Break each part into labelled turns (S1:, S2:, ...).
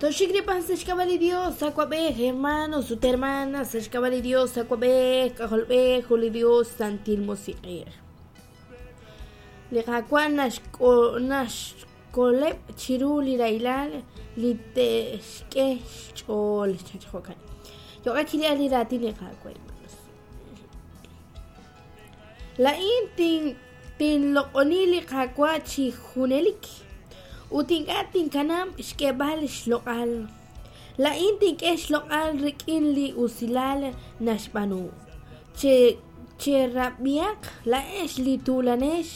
S1: Toxik li pan sa' xk'ab'a' li Dios, awab'ej, hermanos ut hermanas, sa' xk'ab'a' li Dios, awab'ej, k'ajolb'ej, ut li Dios, Santil Musiq'ej. Li Qaawa' naxkoleb' chiru li rahilal li te'xk'e xch'ool. Jo'kan. Yo'qeb' chi li raatin li Qaawa', hermanos. Laa'in tinloq'oni li Qaawa' chi junelik ut ink'a' tinkanab' xk'eeb'al xloq'al. Laa'in tink'e xloq'al rik'in li usilal naxb'aanu. Cherab'ihaq laa'ex li tuulanex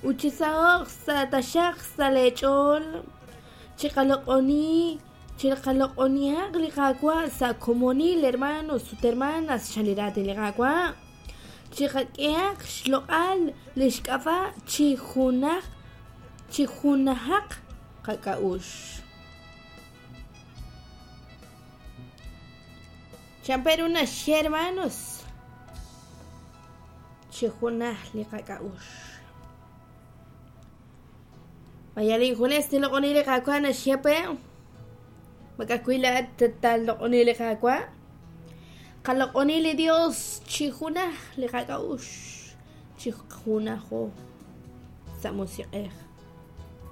S1: ut chisaho'q sa' taxaq sa' leech'ool. Chiqaloq'oni chiqaloq'onihaq li Qaawa' sa' komonil, hermanos ut hermanas, chan li raatin li Qaawa'. Chiqak'ehaq xloq'al li xk'ab'a' chi junaj chi junajaq qak'a'uxl. Chan pe ru naxye, hermanos, chi junaj li qak'a'uxl. Vaya injunes tinloq'oni li Qaawa' naxye pe. Ma ka'ajwi' laa'at taaloq'oni li Qaawa'? Qaloq'oni li Dios chi junaj li qak'a'uxl, chi junajo sa' musiq'ej.